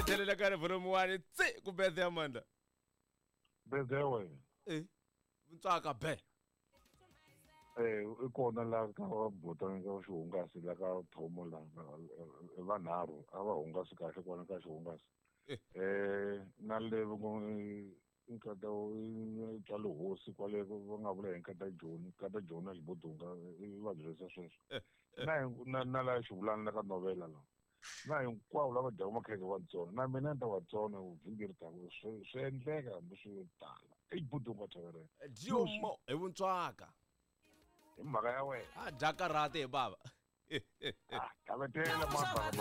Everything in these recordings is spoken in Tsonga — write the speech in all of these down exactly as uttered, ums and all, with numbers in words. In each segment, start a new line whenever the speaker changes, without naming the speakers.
tlhelela ka volume one tsi ku birthday Amanda.
Birthday wena.
Eh. Ntsaka be.
Eh i kona la ka bota ka xihungasi la ka thomo la vanharhu a va hungasi kahle kona ka xihungasi. Eh na le nkata tsa le hosi kwale va nga vula hi nkata Joni nkata Joni na Xibodunga i va byerisa sweswo na na na la xivulana la ka novela la na hinkwavo lava dyaka makhekhe va tsona na mina ni ta va tsona vhiki ri taka swi swi endleka hambi swi tala i Xibodunga thaverena
Diomo hi vuntswaka
hi mhaka ya wena
a dya karate hi bava
ah kavetela mabaka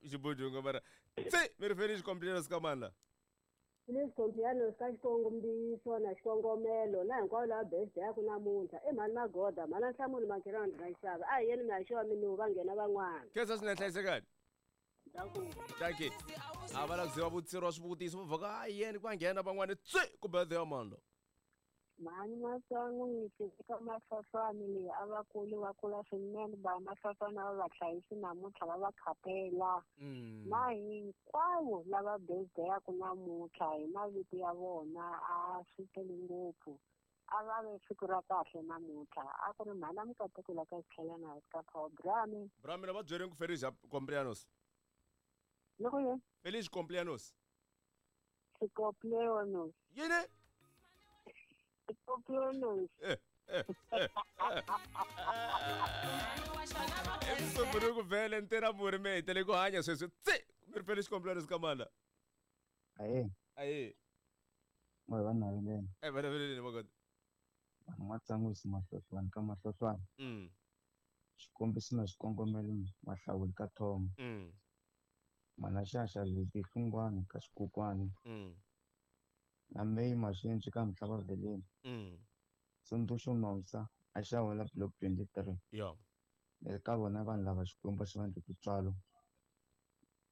Xibodunga mara tsi mi ri Felice Complianos ka mani la
Felice Complianos ka xikongomiso na xikongomelo na hinkwavo lava birthday ya ku namuntlha i mhani Magoda mhana Nhlamulo Makhelwana ra xava a hi yeni mi ya xava minuva va nghena van'wana
khensa swinene hlayisekani dankie a va la ku ziva vutsirwa swivutiso va vhaka a yeni ku va nghena van'wana tsi ku birthday ya mani la
Mhani Masangu eka Mafahlwani leyi a va kuli va kula swinene ba Mafahlwani a va va hlayisi namuntlha va va khapela na hinkwavo lava birthday-aku namuntlha hi mavito ya vona a swi tele ngopfu a va ve siku ra kahle namuntlha a ku ri mhana Mukateko la ka xitlhelana ka Power Brami
Brami va byereni ku Felice Complianos
loko yini
Felice Complianos
Complianos
yini
Complianos
eh eh eh Emsombunuku vele ntera muri me tele ku hanya sweswi tsi mi ri Felice Complianos ka mani la
aye
aye
mo va na yini
eh va na Magoda
vanhu Matsangwisi Mahlohlwani ka Mahlohlwani
mm
xikombiso na xikongomelo mahlawuli ka Thomo
mm
mana xaxa leti hlungwani ka xikukwani
mm
na May Mashinji ka Mhlaba Veleni
mm
Tsundzuxo Nomsa a xawela block twenty-three
yo
ni ri ka vona vanhu lava Xikwembu xi va endle tintswalo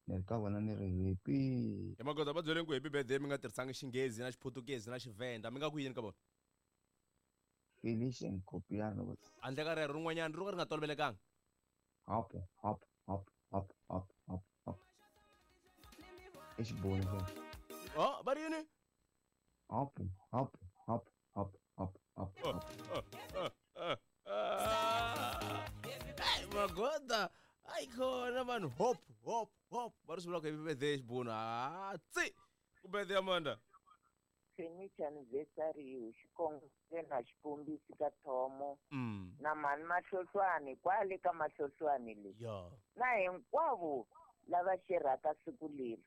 ni ri ka vona ni ri happy
hi Magoda va byeleni ku happy birthday mi nga tirhisanga Xinghezi na Xiputukezi na Xivenda mi nga ku yini ka vona
Felician Copiano
handle ka rero rin'wanyana ro ka ri nga tolovelekanga
hop hop hop hop hop hop hop i xiboni
oh va ri yini
hop hop hop hop hop hop hop
Magoda ayi khona vanhu hop hop hop va ri swi vula ku happy birthday xibunu ha tsi ku birthday Amanda
Felice anniversary xikongomelo na xikombiso ka Thomo na mhani Mahlohlwani kwale ka Mahlohlwani leyi na hinkwavo lava xerhaka siku leri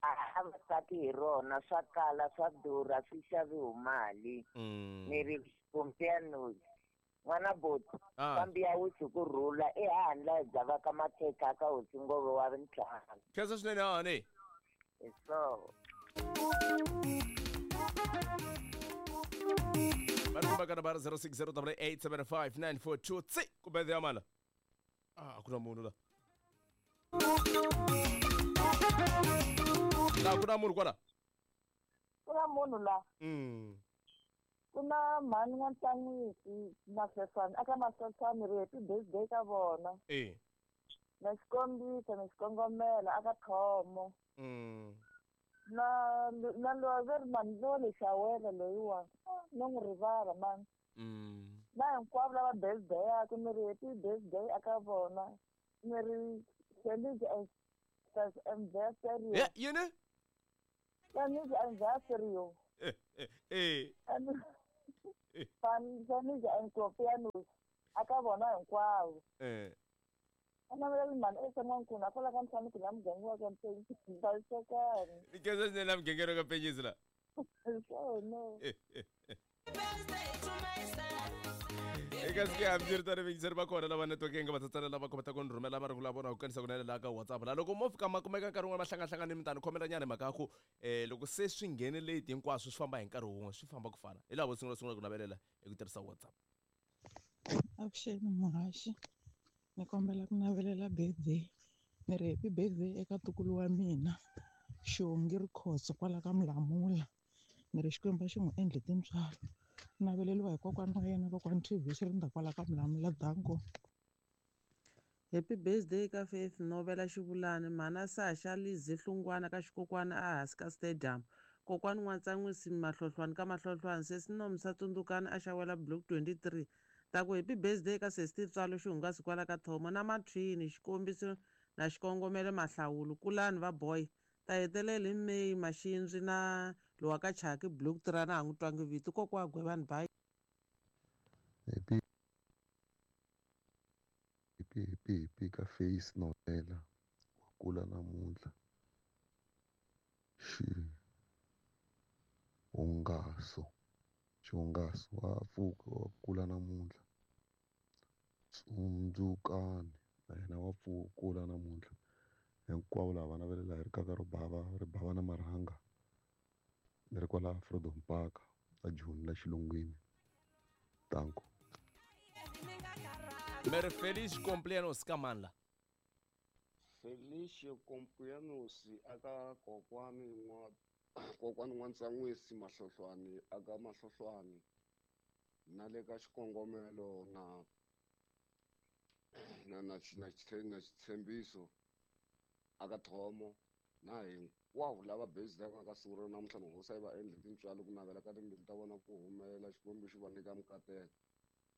a va tsaki hi rona swa kala swa durha swi xaviwa mali ni ri Complianos n'wana boti kambe ya wisi ku rhula ehandle hi dzavaka makhekhe ka hosi Ngove wa ntlhanu
khensa swinene hani
hi so
va ri ka zero six zero eight eight seven five nine four two tsi ku birthday ya mani la ah ku na munhu la la ku na munhu kwala
ku na munhu la
mm
ku na mhani N'wantlangwisi Mahloswana aka Mahloswana ri happy birthday ka vona
eh
na xikombiso na xikongomelo aka Thomo
mm
na na loyi ve ri mani loyi le xawela loyiwa no n'wi rivala mani
mm
na hinkwavo lava birthday-aku ni ri happy birthday aka vona ni ri Felice anniversary
yeah yini
Felice anniversary
eh eh eh
Felice and Copianos aka vona hinkwavo
eh
ana vela mani esan'wankulu a kwala ka ntlhanu ku la muganga wa ka Mpenyisi hlayisekani
ni khensa swinene la mugangeni wa ka Mpenyisi la
swona
eka siku hambiswiritano vayingiseri va kona lava networking va tsatsana lava kotaka ku ni rhumela va ri ku la vona ku kanisa kunene laha ka WhatsApp la loko mo fika ma kumeka nkarhi wun'wana ma hlangahlangane mi tani khomelanyana hi mhaka ya ku um loko se swi nghene late hinkwaswo swi famba hi nkarhi wun'we swi famba ku fana hi laha vo sungula sungula ku navelela hi ku tirhisa WhatsApp.
Avuxeni muhaxi ni kombela ku navelela birthday ni ri happy birthday eka ntukulu wa mina Xongi Rikhotso kwala ka Mlamula ni ri Xikwembu xi n'wi endle tintswalo naveleriwa hi kokwana wa yena kokwani T V xi ri nda kwala ka Mlamula danko.
Happy birthday ka Faith Novela Xivulani, mhana Sasha Lizzy Hlungwana ka xikokwana ehansi ka stadium. Kokwani N'watsan'wisi Mahlohlwani ka Mahlohlwani, sesi Nomsa Tsundzukani a xawela block twenty-three. Ta ku happy birthday ka sesi Tswalo Xihungasi kwala ka Thomo na Mathwini xikombiso na xikongomelo Mahlawulo kulani va boy. Ta hetelela hi May Maxindzi na lowa ka Chaki block three na ha n'wi twangi vito kokwa Gwevani bye.
Happy happy happy happy ka Face Novela wa kula namuntlha xihungaso xihungaso wa pfuka wa kula namuntlha Tsundzukani na yena wa kula namuntlha hinkwavo lava va navelela hi rikaka ro bava ri bava na marhanga ni ri kwala Freedom Park a Joni la xilungwini tanko.
Mere feliz cumpleaños ka mani la?
Feliz cumpleaños aka kokwani n'wa kokwani N'watsan'wisi Mahlohlwani aka Mahlohlwani na le ka xikongomelo na na na na na xitshembiso aka Thomo na hinkwavo lava bezaka ka siku ra namuntlha hosi yi va endle tintswalo ku navela ka timbilu ta vona ku humelela Xikwembu xi va nyika mikateko.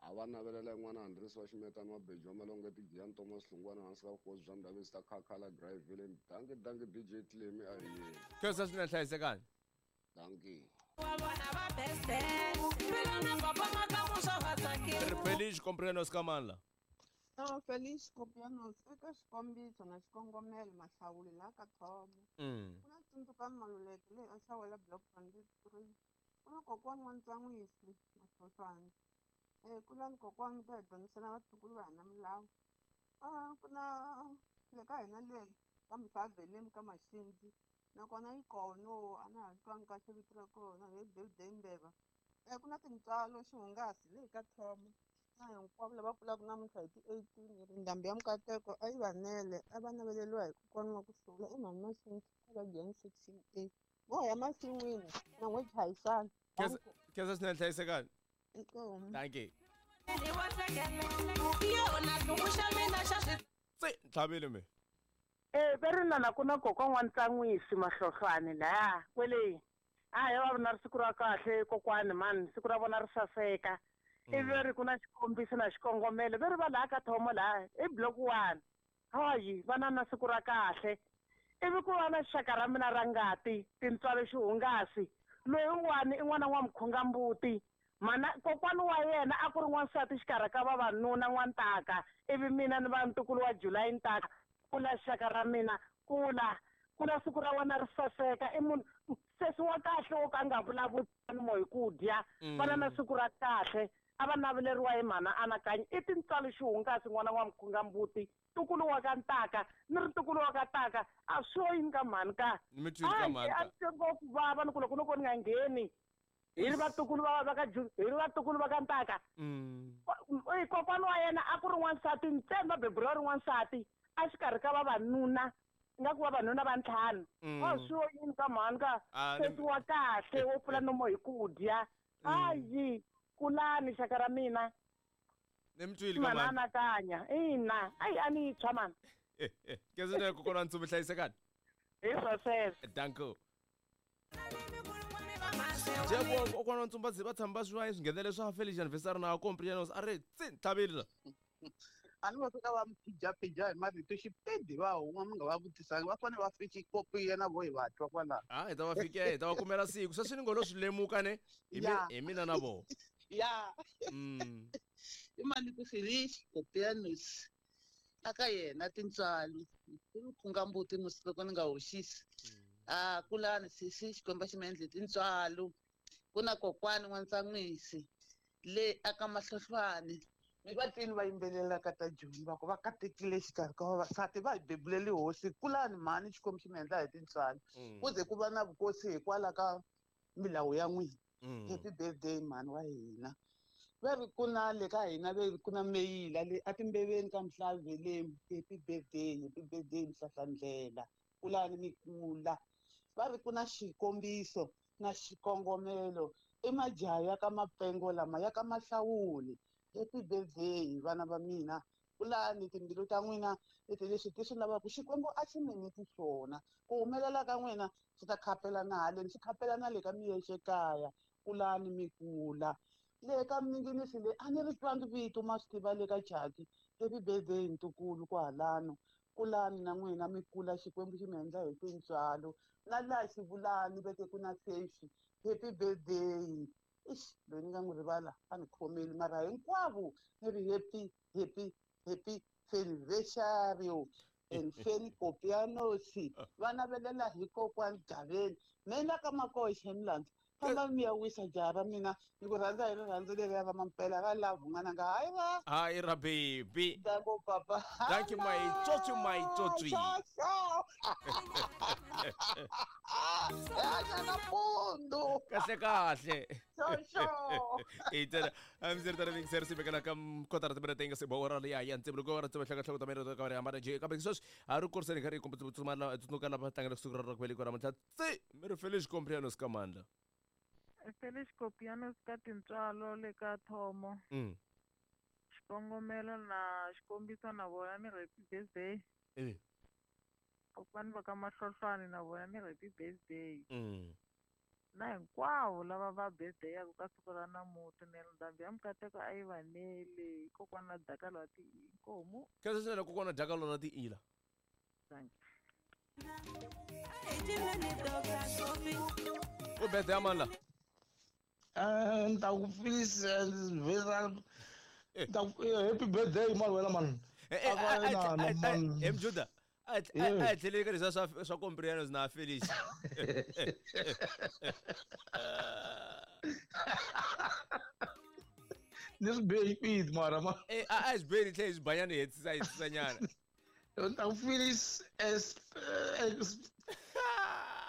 A va navelela yin'wana Andres wa Ximetani wa Beji wa Malonge Tigiyani Thomas Hlungwana hansi ka vukosi bya Ndabezi ta Khakhala Greyville. Danki danki D J Clemi a hi yeni.
Khensa swinene hlayisekani.
Danki.
Feliz cumpleaños ka mani la?
No, feliz cumpleaños eka xikombiso na xikongomelo Mahlawuli la ka Thomo.
Mm.
Ku na Tsundzukani Maluleke leyi a xawela block twenty-three. Ku na kokwani N'watsan'wisi Mahlohlwani. Eh kulani kokwani ta hi dyondzisa na vatukulu va hina milawu. Ah ku na le ka hina le ka Mhlaveleni ka Maxindzi nakona yi kona a na ha twangi kahle vito ra kona hi birthday Mbeva. Eh ku na tintswalo xihungasi leyi ka Thomo. Na hinkwavo lava kulaka namuntlha hi ti eighteen ri ndhambi ya mikateko a yi va nele a va naveleriwa hi kokwana wa ku hlula i mhani Maxindzi a va Giyani section A. Vo ya masin'wini na n'we chayisana.
Khensa swinene hlayisekani.
Inkomu.
Dankie. Se ntlhavile me.
Eh ve ri nana ku na kokwa N'watsan'wisi Mahlohlwani laya kwele. A hi va na siku ra kahle kokwani mani siku ra vona ri saseka. Ivi ri ku na xikombiso na xikongomelo ve ri va laha ka Thomo laha i block one. Hayi va na na siku ra kahle. Ivi ku va na xaka ra mina ra ngati tintswalo xihungasi loyiwani i n'wana wa Mkhungambuti. Mana kokwani wa yena a ku ri n'wansati xikarhi ka vavanuna N'wantaka ivi mina ni va ntukulu wa July Ntaka kula xaka ra mina kula kula siku ra wena ri saseka i munhu sesi wa kahle wo ka nga vulavuli mo hi ku dya vana na siku ra kahle a va naveleriwa hi mhana anakanyi i tintswalo xihungasi n'wana wa Mkhungambuti ntukulu wa ka Ntaka ni ri ntukulu wa ka Ntaka a swi yini ka mhani ka a ni twe ngopfu vava ni ku loko no ko ni nga ngheni hi ri vatukulu va va ka hi ri vatukulu va ka Ntaka. Kokwana wa yena a ku ri n'wansati ntsena va beburiwa ri n'wansati a xikarhi ka vavanuna ingaku vavanuna va ntlhanu. A swi yini ka mhani ka sesi wa kahle wo pfula nomo hi ku dya. Hayi kulani xaka ra mina.
Ni mi twile ka mhani.
Anakanya ina ayi a ni tshwa mani.
Khensa swinene kokwana Ntsumbi hlayisekani.
Hi swo sweswo.
Danko. Jebo kokwana Ntsumba va tshama va swi swinghenele swa Feliz anniversary na cumpleaños a ri tsi ntlhavile la.
A ni va fika va phijaphija hi marito xipedi va huma mi nga va vutisanga va fanele va fiki kopiya na vo hi va twa kwalaho.
A hi ta va fike hi ta va kumela siku sweswi ni ngo lo swi lemuka ne hi hi mina na vona.
Ya. I mali ku Feliz cumpleaños aka yena tintswalo i Mkhungambuti musi loko ni nga hoxisi. Ah kulani sisi Xikwembu xi mi endle tintswalo ku na kokwani N'watsan'wisi le aka Mahlohlwani mi va twini va yimbelelaka ta Joni va ku va katekile xikarhi ka vavasati va hi bebuleli hosi kulani mhani Xikwembu xi mi endla hi tintswalo ku ze ku va na vukosi hikwalaho ka milawu ya n'wina. Happy birthday mhani wa hina. Va ri ku na le ka hina ve ku na meyila le a timbeveni ka Mhlaveleni happy birthday happy birthday Mhlahlandlela kulani mi kula. Va ri ku na xikombiso na xikongomelo i majaha ya ka Mapengo lama ya ka Mahlawuli. Happy birthday vana va mina Kulani timbilu ta n'wina leti leswi ti swi lavaka Xikwembu a xi mi nyiki swona. Ku humelela ka n'wina swi ta khapelana haleni, swi khapelana le ka miyexe kaya. Kulani mi kula. Le ka minginisi le a ni ri twangi vito ma swi tiva le ka Chaki. Happy birthday ntukulu kwahalano. Kulani na n'wina mi kula, Xikwembu xi mi endla hi tintswalo. Na laha Xivulani veke ku na Sefi. Happy birthday. Ixi, loyi ni nga n'wi rivala a ni khomeli mara hinkwavo ni ri happy happy happy anniversary and Feni Kopianosi. Va navelela hi kokwani Gaveni. Mina ka Makoxe Mlandza. Famba mi ya wisa jaha ra mina, ni ku rhandza hi rirhandzu leriya ra mampela ra love n'wananga. Hayi ra.
Hayi ra baby.
Danko papa.
Thank you my tsotsi my tsotsi.
Kahle
Kahle kahle.
Xoxo.
Itela amzirtara mixer si bekala kam kotara tibere tenga se bora le ya ya ntse go ra tsebe hlaka hlaka tamere ka re amana je ka be sos a ru course re ka re kompetsumala tsnuka la batanga sukra ra kweli kora motla tse me re Feliz Comprianos ka mandla.
Feliz Comprianos ka tintswalo le ka thomo.
Mm.
Xikongomelo na xikombiso na vona ni happy birthday.
Eh.
Kokwani va ka Mahlohlwane na vona ni happy birthday.
Mm.
Na hinkwavo lava va birthday ya ka siku ra namuntlha ni ndhambi ya mikateko a yi vanele kokwana Dakalo ti inkomu.
Ka se kokwana Dakalo na ti ila.
Thank you.
O birthday amandla.
Eh nta ku Feliz happy birthday man wena man.
Eh eh Mjuda. A a tlhele ka leswa swa swa Comprianos na Feliz.
Ni swi be speed mara ma.
Eh a a swi be tlhe swi banyana hetisa hetisa nyana.
Nta ku Feliz es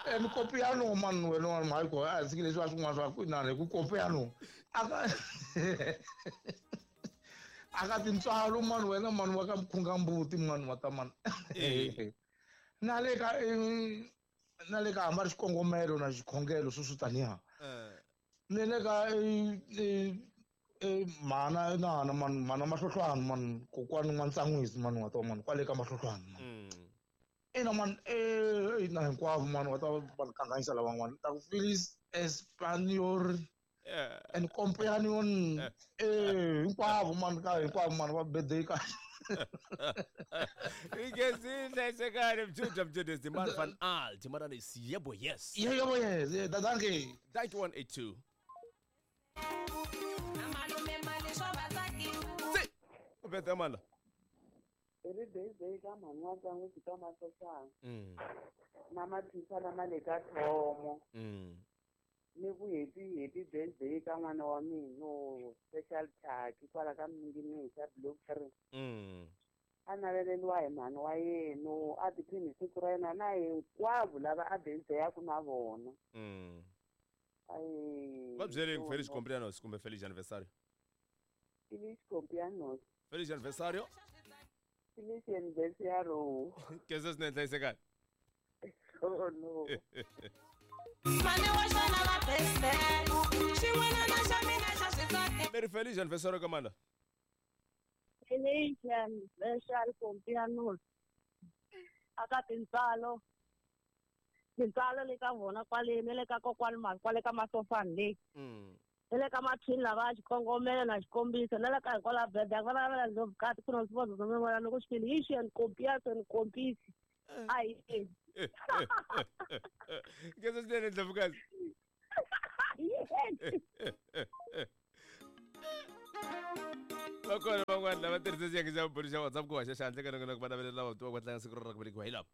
em Copiano man wena man ko a swi leswi swin'wana swa ku na ku Copiano. Aka aka tintswalo man wena man wa ka mkhungambuti man wa ta man. Na le ka na le ka hamba xikongomelo na xikhongelo swo swi taniya. Ni le ka mana na na man mana Mahlohlwane man kokwani N'wantsan'wisi man wa ta man kwale ka Mahlohlwane man. Ina man eh ina hinkwavo man wa ta va kanganyisa lavan'wana ta ku Feliz Espanyol and companion eh hinkwavo man ka hinkwavo man va birthday ka.
Ikezi sekare mjuda mjuda the man van alt mara is yebo yes.
Yebo yes. Danke.
Thank you one eight two. Ubethe amandla.
Happy birthday ka mhani wa Ntsan'wisi ka Mahlohlwane.
Mm.
Na mathisa lama le ka thomo.
Mm.
Ni ku happy happy birthday ka n'wana wa mina special Chaki kwala ka Minginisa block three.
Mm.
A naveleliwa hi mhani wa yena a tiphini hi siku ra yena na hinkwavo lava a birthday ya ku na vona.
Mm.
Ai.
Va byele ku Feliz Comprianos kumbe Feliz anniversario.
Feliz Comprianos.
Feliz anniversario.
Feliz anniversario.
Que se ne hlayisekani.
Oh no.
Meri Feliz anniversario ka mandla.
Feliz anniversario Comprianos. Aka tintswalo. Tintswalo le ka vona kwale ne le ka kokwani mali kwale ka Mahlohlwane le.
Mm.
Le ka mathini lava xikongomelo na xikombiso na le ka hikwalaho birthday va lavela ndlhovukati ku na swivozo swa min'wana loko xi and Compiaso and Compisi. A hi.
Ke se swinene ndlhovukazi. Va kona van'wana lava tirhisa xiyenge xa vumbirhi xa WhatsApp ku haxa xandla ka nongonoko va navelela lava va ku tlanga siku ra ku velekiwa hi lava.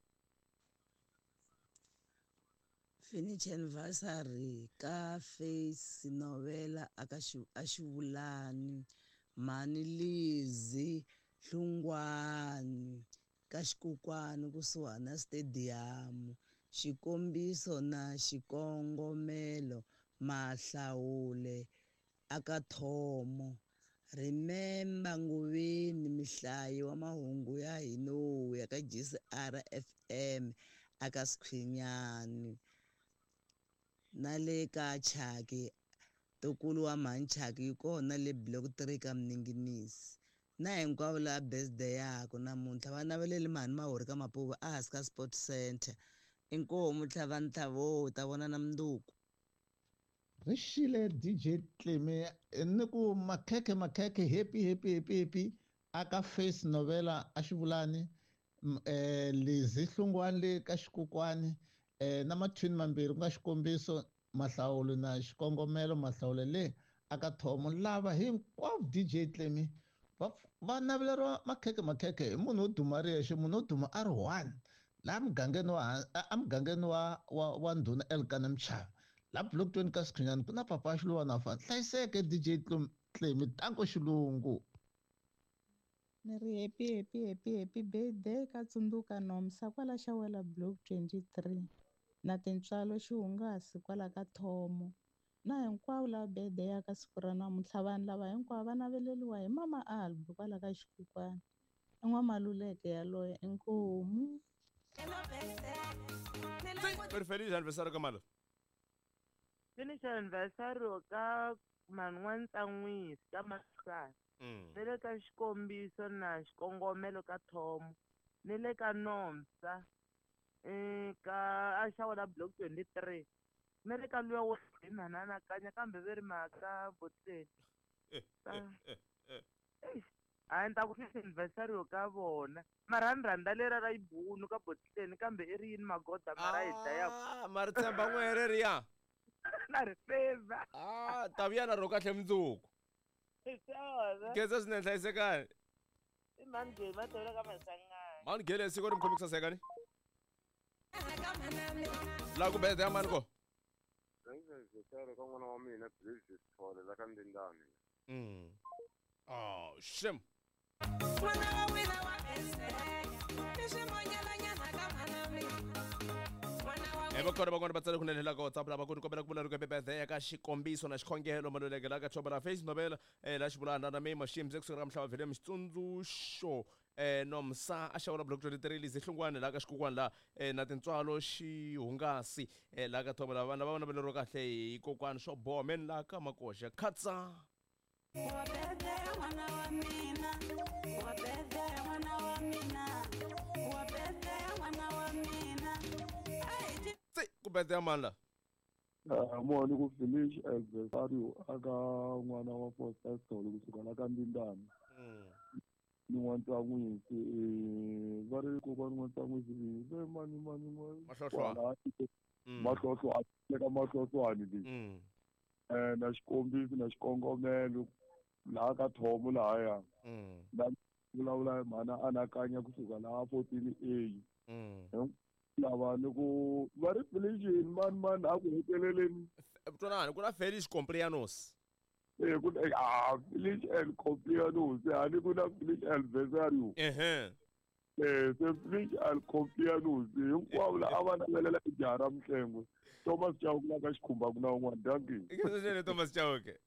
Finish anniversary ka Face Novela aka Xivulani Mhani Lizi Hlungwani ka Xikokwani kusuhana stadium xikombiso na xikongomelo Mahlawule aka thomo Remember Nguveni mihlayi wa mahungu ya hino ya ka G C R F M aka Skhwinyani na le ka Chaki tokulu wa Mhani Chaki yi kona le block three ka Mninginisi. Na hinkwavo lava birthday yaku namuntlha va naveleli mhani Mahori ka Mapuva a hansi ka Sport Center. Inkomu tlhava ntlhavo ta vona na mundzuku.
Ri xile D J Tlemi ni ku makhekhe makhekhe happy happy happy happy aka face novela a xivulani eh Lizzy Hlungwani le ka xikokwani eh na mathwini mambirhi ku nga xikombiso mahlawulo na xikongomelo mahlawulo le aka thomo lava hinkwavo D J Tlemi va va naveleriwa makhekhe makhekhe hi munhu wo duma ri yexe munhu wo duma a ri one laha mugangeni wa emugangeni wa wa wa ndhuna Elkana Mchava la block twenty ka Sikhunyani ku na papa Xiluwana fa hlayiseke D J Tlemi tanko xilungu.
Ni ri happy happy happy happy birthday ka Tsundzuka Nomsa kwala Xawela block twenty-three na tintswalo xihungasi kwala ka Thomo na hinkwavo lava birthday ya ka siku ra namuntlha vanhu lava hinkwavo va naveleriwa hi mama Albi kwala ka Xikukwana i N'wamaluleke yaloye inkomu.
Feliz aniversário ka mali.
Feliz aniversário ka Man'wantsan'wisi ka Mahlwana. Ni le ka xikombiso na xikongomelo ka Thomo ni le ka Nomsa ka a Xawela block twenty-three ni le ka luya wo hi mhananakanya kambe ve ri mhaka boteni a ni ta ku feliz aniversário ka vona mara ni rhandza lera ra yibunu ka boteni kambe i ri yini magoda mara hi dlayaku
mara tshemba n'were riya
na ri feva
ah ta vuya na ro kahle mundzuku. Khensa swinene hlayisekani.
I mhani Gele va tivela ka Masangani.
Mhani Gele siku ri mi khomi ku sasekani. Laha ku birthday ya mani ko?
Aniversário ka n'wana wa mina Blaze Sithole la ka Ndindani.
Mm. Oh, shame.
N'wana wa wena wa birthday i swimonyelanyana ka mhana mina.
Eva kona van'wana va tsale kunene la ka WhatsApp lava ku ni kombela ku vula ri birthday ya ka xikombiso na xikhongelo maluleke la ka Thomo la face novela eh la xivulana na Mema Shimze kusuka ka Mhlava Vele Xitsundzuxo eh Nomsa a Xawela block twenty-three Lizzy Hlungwani la ka Xikukwana la eh na tintswalo xihungasi eh la ka Thomo la vana va naveleriwa kahle hi kokwani swo boha men la ka Makoxa khatsa.
Wa birthday n'wana wa mina, wa birthday n'wana wa mina, wa birthday n'wana wa mina.
Ku birthday ya mani la?
Ah moni ku finish aniversário aka n'wana wa Foster Sithole kusuka la ka Ndindani. Ni N'wantsan'wisi va ri kokwani N'wantsan'wisi ve mani mani
Mahlohlwana.
Mahlohlwana le ka Mahlohlwani leyi. Eh na xikombiso na xikongomelo laha ka Thomo lahaya. Na vulavula hi mhana anakanya kusuka laha fourteen A. Lava ni ku va ri Felician mani mani a ku heteleleni
twanani ku na Felix Complianos
eh ku ah Felix and Complianos a ni ku na Felix aniversário
ehe
eh se Felix and Complianos hinkwavo la a va navelela jaha ra Mhlengwe Thomas Chauke la ka Xikhumba ku na un'wana dankie
i Thomas Chauke.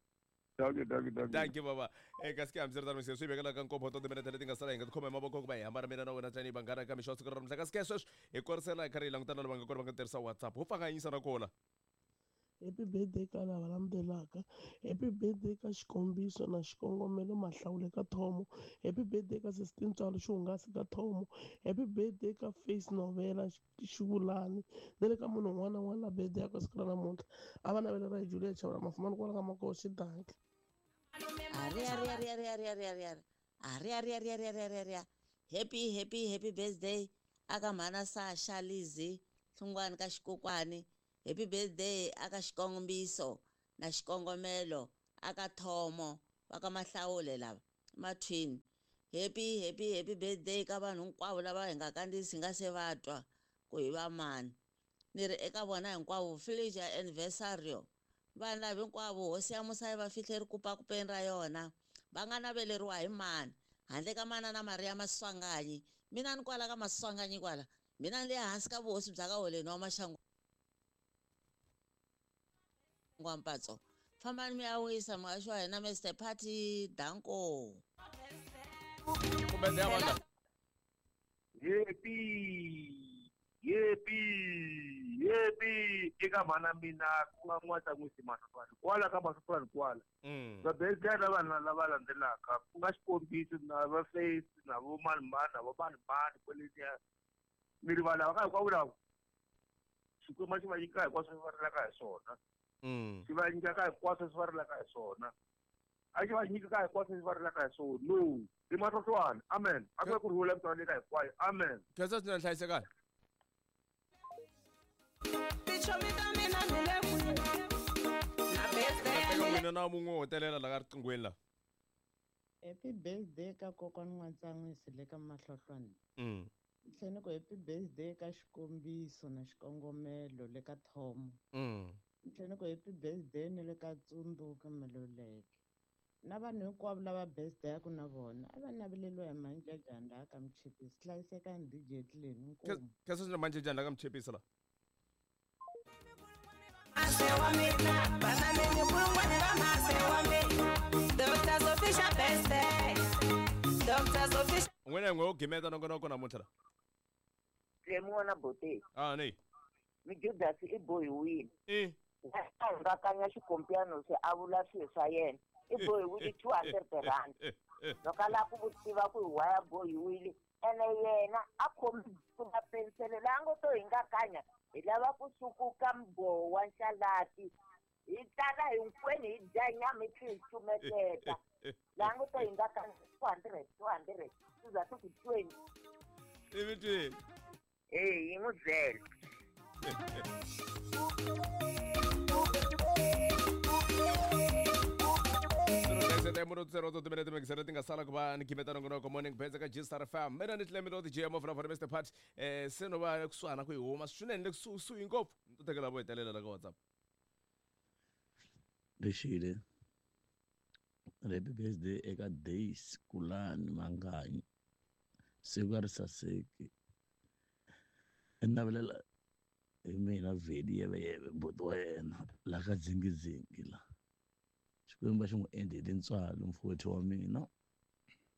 Dankie dankie dankie
dankie baba eh kasi hambiswiritano se swi vekela ka nkombo to timinete leti nga sala hi nga tikhoma hi mavoko ku va hi hambana mina na wena tanihi vanghana ka mixo wa siku ra namuntlha kasi ke sweswi hi korisela hi karhi hi langutana lava nga kona va nga tirhisa WhatsApp ho pfanganyisa na kona.
Happy birthday ka lava landzelaka. Happy birthday ka xikombiso na xikongomelo mahlawule ka Thomo. Happy birthday ka sesi Tintswalo xihungasi ka Thomo. Happy birthday ka face novela xivulani na le ka munhu un'wana na un'wana la birthday ya ka siku ra namuntlha a va navelela hi Julia Chavula Mafumani kwala ka Makoxi dankie.
Ari ari ari ari ari ari ari ari ari ari ari ari ari ari ari happy happy happy birthday aka mhana Sasha Lizzy Hlungwani ka Xikokwani. Happy birthday aka xikombiso na xikongomelo aka Thomo va ka Mahlawule lava mathwini. Happy happy happy birthday ka vanhu hinkwavo lava hi nga kandziyisi hi nga se va twa ku hi va mani. Ni ri eka vona hinkwavo feliz aniversário. Vanhu lava hinkwavo hosi ya musa yi va fihle rikupakupeni ra yona va nga naveleriwa hi mani handle ka manana Maria Maswanganyi. Mina ni kwala ka Maswanganyi kwala mina ni le hansi ka vuhosi bya ka Holeni wa Maxangu Ngwampatso. Fambani mi ya wisa muhaxi wa hina Mister Party danko.
Ku birthday ya mani la?
Happy happy
Happy eka mhana mina ku nga N'watsan'wisi Mahlofani kwala ka Mahlofani kwala. Va birthday lava lava landzelaka ku nga xikombiso na va Face na vo mani mani na vo mani mani kwaleniya mi rivala ka hinkwavo lava Xikwembu xi va nyika hinkwaswo swi va rilaka hi swona. Xi va nyika ka hinkwaswo swi va rilaka hi swona. A xi va nyika ka hinkwaswo swi va rilaka hi swona. No, i Mahlofani. Amen. A ku ve ku rhula misava leyi ka hinkwayo. Amen.
Khensa swinene, hlayisekani. Mina na mun'we wo hetelela la ka riqinghweni la.
Happy birthday ka kokwana N'watsan'wisi le ka Mahlohlwane.
Mm.
Tlhela ni ku happy birthday ka Xikombiso na Xikongomelo le ka Thomo.
Mm.
Tlhela ni ku happy birthday ni le ka Tsundzuka Maluleke. Na vanhu hinkwavo lava birthday-aku na vona a va naveleriwa hi Manjajani laha ka Mchipisi. Hlayisekani D J Tleni, inkomu.
Khensa swinene Manjajani la ka Mchipisi la. N'wina hi n'we wo gimeta nongonoko namuntlha la.
Tlemi n'wana Bote.
Ah, ni.
Mijudasi i bohiwile.
Eh.
A hingakanya xikompiano se a vula swilo swa yena. I bohiwile two hundred rand. Loko a lava ku tiva ku hi why a bohiwile, ene yena a khomi buku na pensele laha ngo to hingakanya hi lava ku sukuka mbhovo wa nxalati. Hi tala hinkwenu hi dya nyama hi tlhela hi cumeteta. Laha ngo to hingakanya two hundred, two hundred, swi za swi ku twenty.
Ivi twini.
Eh, yi n'wi byela.
Zero timinete mixere ti nga sala ku va ni gimeta nongonoko morning bets ka G Star F M. Mina ni Tlemi lo D J mo from Mister Pat. Eh se no va kusuhana ku hi huma swinene le kusuhi ngopfu. Ni to tekela vo hetelela la ka WhatsApp.
Lexile. Happy birthday eka Days Kulani Manganyi. Siku a ri saseki. I navelela hi mina Veli yeveyeve buti wa yena la ka dzingidzingi la. Xikwembu xi n'wi endle hi tintswalo mfowethu wa mina.